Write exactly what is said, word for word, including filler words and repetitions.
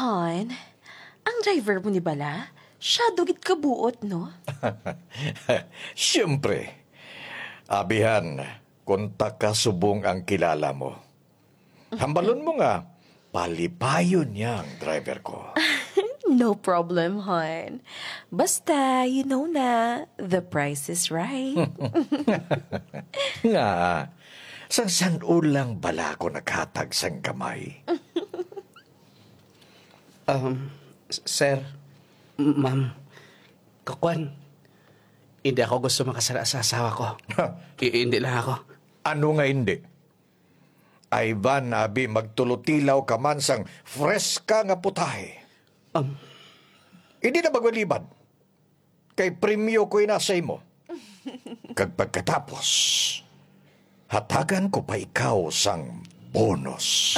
On, ang driver mo ni bala, siya dugit kabuot, no? Siyempre, abihan, kung ta kasubong ang kilala mo. Hambalon mo nga, palipayon niya ang driver ko. No problem, hon. Basta, you know na, the price is right. Nga, sang san-o lang bala ko naghatag sang gamay? Um, s- sir, m- ma'am, kakuan, hindi ako gusto makasala sa asawa ko. I- hindi lang ako. Ano nga hindi? Ivan, abi, magtulutilaw ka man sang freska nga putahe. Um, Hindi na magbalibad. Kay premyo ko ina sa imo. Kag pagkatapos, hatagan ko pa ikaw sang bonus.